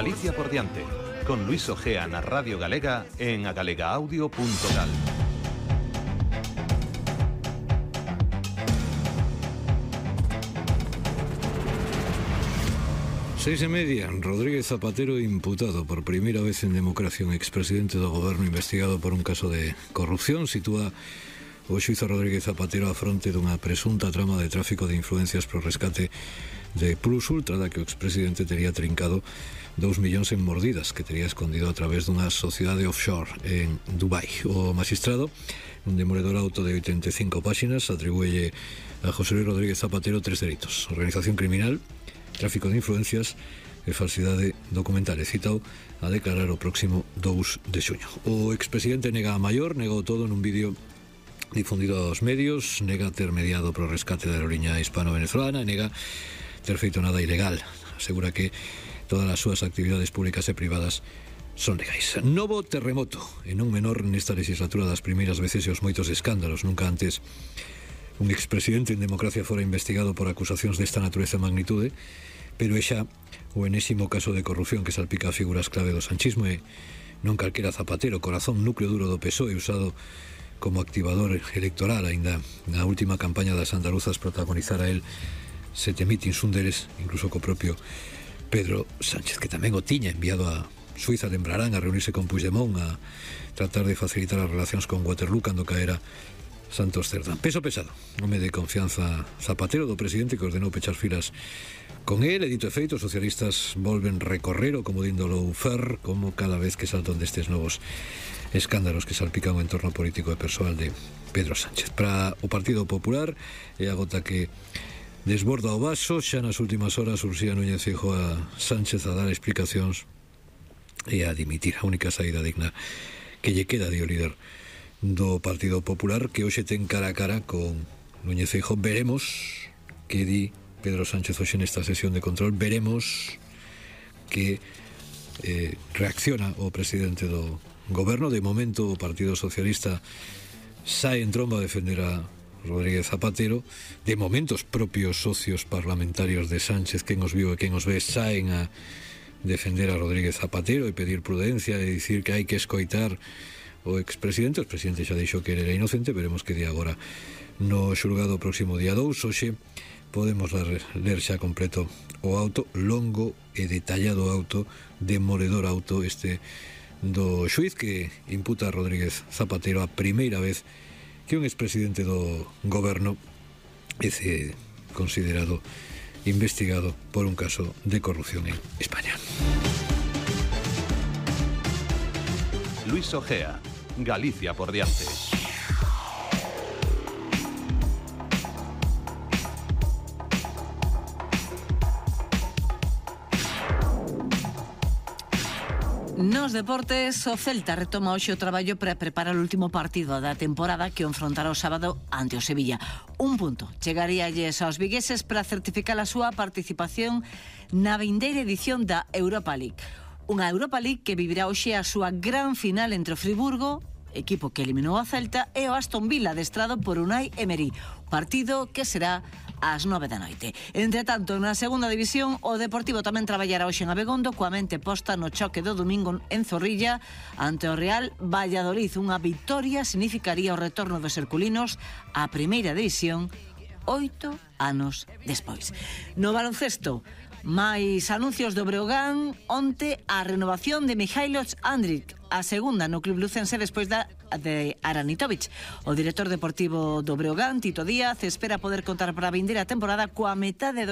Galicia por diante, con Luis Ojea na Radio Galega en agalegaaudio.gal. 6:30, Rodríguez Zapatero imputado por primeira vez en democracia, un expresidente do goberno investigado por un caso de corrupción. Sitúa o xuízo Rodríguez Zapatero a fronte dunha presunta trama de tráfico de influencias pro rescate de Plus Ultra, da que o expresidente tería trincado 2 millóns en mordidas que tería escondido a través dunha sociedade offshore en Dubai. O magistrado, un demoledor auto de 85 páxinas, atribúelle a José Luis Rodríguez Zapatero 3 delitos: organización criminal, tráfico de influencias e falsidade documental. E citao a declarar o próximo 2 de xuño. O expresidente nega a maior, negou todo nun vídeo difundido aos medios, nega ter mediado pro rescate da aerolínea hispano-venezolana e nega ter feito nada ilegal. Asegura que todas as súas actividades públicas e privadas son legais. Novo terremoto, e non menor nesta legislatura das primeiras veces e os moitos escándalos. Nunca antes un expresidente en democracia fora investigado por acusacións desta natureza e magnitude, pero é xa o enésimo caso de corrupción que salpica a figuras clave do sanchismo e non calquera Zapatero, corazón núcleo duro do PSOE, usado como activador electoral. Ainda na última campaña das andaluzas protagonizara el 7 mítins, un deles incluso co propio Pedro Sánchez, que tamén o tiña enviado a Suiza, lembrarán, a reunirse con Puigdemont, a tratar de facilitar as relacións con Waterloo cando caera Santos Cerdán. Peso pesado, home de confianza Zapatero, do presidente, que ordenou pechar filas con él. E dito e feito, os socialistas volven recorrer o comodín do lawfare, como cada vez que saltan destes novos escándalos que salpican o entorno político e persoal de Pedro Sánchez. Para o Partido Popular é a gota que desborda o vaso. Xa nas últimas horas Ursía Núñez Feijóo a Sánchez a dar explicacións e a dimitir. A única saída digna que lle queda de o líder do Partido Popular, que hoxe ten cara a cara con Núñez Feijóo. Veremos que di Pedro Sánchez hoxe nesta sesión de control. Veremos que reacciona o presidente do goberno. De momento o Partido Socialista sae en tromba a defender a Rodríguez Zapatero. De momento os propios socios parlamentarios de Sánchez, quen os viu e quen os ve, saen a defender a Rodríguez Zapatero e pedir prudencia e dicir que hai que escoitar o expresidente. O expresidente xa dixo que era inocente. Veremos que di agora no xulgado o próximo día 2. Hoxe podemos ler xa completo o auto, longo e detallado auto, demoledor auto este do xuiz que imputa a Rodríguez Zapatero a primeira vez que un expresidente do goberno é considerado investigado por un caso de corrupción en España. Luis Ojea, Galicia por diante. Nos deportes, o Celta retoma hoxe o traballo para preparar o último partido da temporada que o enfrontará o sábado ante o Sevilla. Un punto chegaríalles aos vigueses para certificar a súa participación na vindeira edición da Europa League. Unha Europa League que vivirá hoxe a súa gran final entre o Friburgo, equipo que eliminou a Celta, e o Aston Villa, adestrado por Unai Emery. Partido que será ás 9 da noite. Entre tanto, na segunda división, o Deportivo tamén traballará hoxe en Abegondo, coa mente posta no choque do domingo en Zorrilla ante o Real Valladolid. Unha vitoria significaría o retorno dos herculinos á primeira división 8 anos despois. No baloncesto, máis anuncios do Breogán. Onte a renovación de Mihailo Andrić, a segunda no club lucense despois de Aranitovic. O director deportivo do Breogán, Tito Díaz, espera poder contar para a vindeira temporada coa metade do